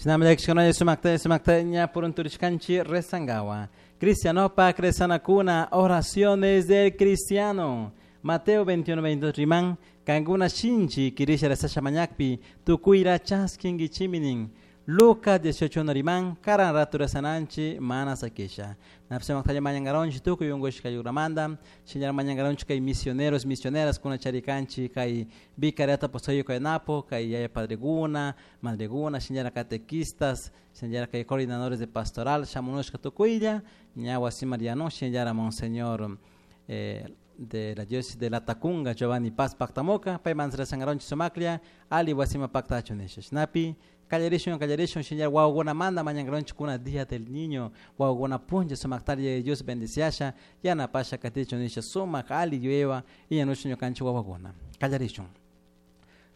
Shinami sumakta sumakta ña purunturishkanchi rezangawa. Cristianopak rezanakuna, oraciones del cristiano. Mateo 21, 22 riman, kankuna shinchi kirisha rezasha mañakpi, tukuyra chaskinkichiminin. Lucas 18 riman, karan ratu rezananchi mana sakisha. Napse mañangaronchi tukuy ungushka yuramanda, shinara mañangaronchi kay misioneros, misioneras kuna charikanchi kay vicariato apostólico de Napo, kay yaya padreguna, madreguna, shinara catequistas, shinara kay coordinadores de pastoral, shamunushka tukuylla, ña wasi Mariano, shinara monseñor de la diócesis de la Tacunga, Giovanni Paz Pactamoca, pay manzara sangaronchi sumaklia, ali wasima pactacho nisha. Shinapi, kallarishun, kallarishun, shinyar wawakuna manda mañangaronchi kuna día del niño, wawakuna punlla sumaktaria Dios bendiciasha, yanapasha katichun nisha sumak ali yuyaywan, iñanushun ñukanchik wawakuna. Kallarishun.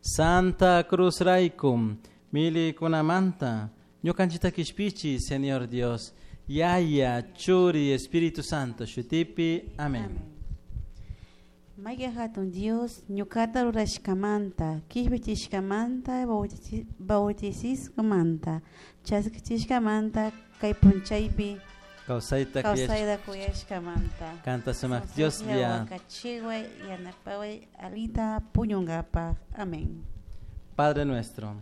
Santa Cruz rayku, milikunamanta, ñukanchita kishpichi, Señor Dios, Yaya, Churi, Espíritu Santo, shutipi, amén. Maya hatun Dios, ñukata rurashkamanta, kishpichishkamanta, bautizishkamanta, chaskichishkamanta, kay punchaypi, Kawsayta kawsayta kuyashkamanta. Kanta sumak Dios ya. Wakachiway, yanapaway, alita puñunkapaj. Amén. Padre nuestro,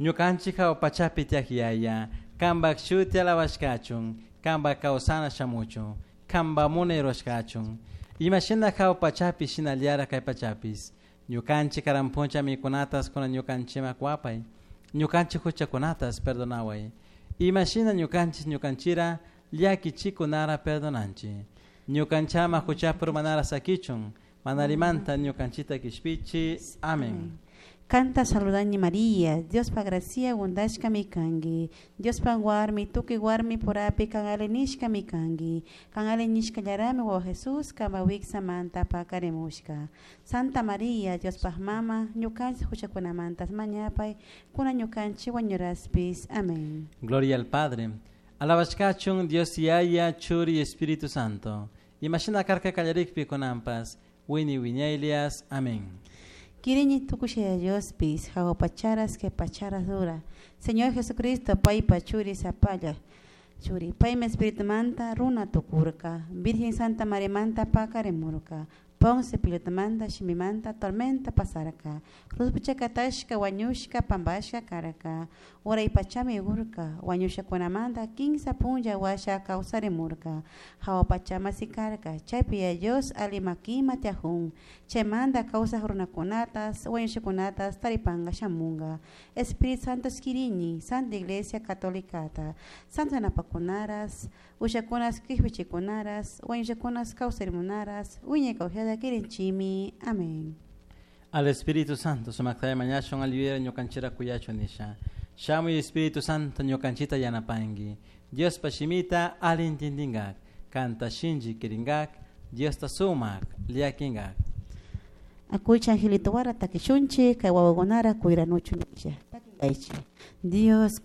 ñukanchik hawa pachapi tiyak yaya, kanpak shuti alabashkachun, kanpak kawsana shamuchun, kanpak munay rurashkachun. Imashina hawa pachapi shinallara kay pachapis. Ñukanchik karan puncha mikunatas kuna ñukanchiman kuwapay. Ñukanchik huchakunatas perdonaway. Imashina ñukanchik ñukanchira llakichikunara perdonanchik. Ñukanchama huchapi urmanara sakichun, manarimanta ñukanchita kishpichi. Amén. Kanta saludani María, Diospa gracia gundashkami kanki. Diospa warmi, tukuy warmi purapi kan ali nishkami kanki. Kan ali nishkallarami wawa Jesús kanpa wiksamanta pakarimushka. Santa María, Diospaj mama, ñukanchik huchakunamantas mañapay, kuna ñukanchik wañuraspis. Amén. Gloria al Padre. Alabashkachun Dios Yaya, Churi, Espíritu Santo. Imashina karka kallarikpi kunanpas, wini wiñaylias. Amén. Kirini tukushaya Diospis, hawa pacharas que pacharas dura. Señor Jesucristo, paypa churi sapalla. Churi, paymi Espíritu manta runa tukurka. Virgen Santa María manta pakarimurka. Ponce Pilatomanta, shimimanta, tormenta pasarka. Cruz puchakatashka, wañushka, pampashka karka. Uray pachami urka, wañushakunamanta, kinsa punlla washa kawsarimurka. Hawa pachama sikarka, chaypi Dios ali makima tiajun. Chaymanta kawsaj runakunatas, wañushakunatas, taripanga shamunga. Espíritu Santo skirini, Santa Iglesia Católicata, Santa Napakunaras, ushakunas kishpichikunaras, wañushakunas kawsarimunaras, wiñay kawsayta kirinchimi. Amén. Al Espíritu Santo, sumaktaya mañashun alivira ñukanchira kuyachu nisha. Shamuy Espíritu Santo ñukanchita yanapanki. Dios pashimita alintindingak, kanta shinchi kiringak, Dios ta sumak liakingak. Akuycha angelito wara takishunchi, kay wawakunara kuyranuchu nisha. Takinkaychi. Dios